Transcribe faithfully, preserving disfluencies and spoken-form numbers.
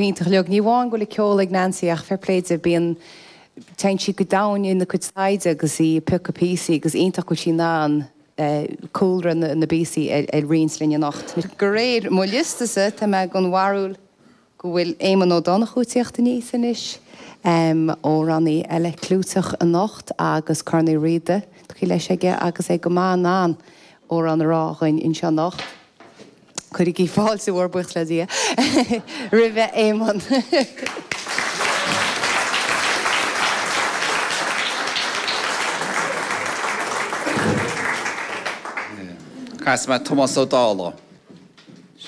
Go hiontach uilig. Ní amháin go bhfuil ceol ag Nancy ach fair play di bíonn téann sí go domhain ina cuid taighde agus í ag piocadh píosaí agus iontach go bhfuil sí in ann cúlra na na bpíosaí a roinnt linn anocht. De réir mo liostasa tá mé den bharúil go bhfuil Éamonn Ó Donnchú ag tíocht aníos anois, amhránaí eile clúiteach anocht agus Corn Uí Riada tugtha leis aige agus é go maith in ann amhrán a rá dhuinn anseo anocht. Cuirigí fáilte mhór buíochas le Dia roimhe Éamonn. Casfaidh mé Tomás Ó Dálaigh.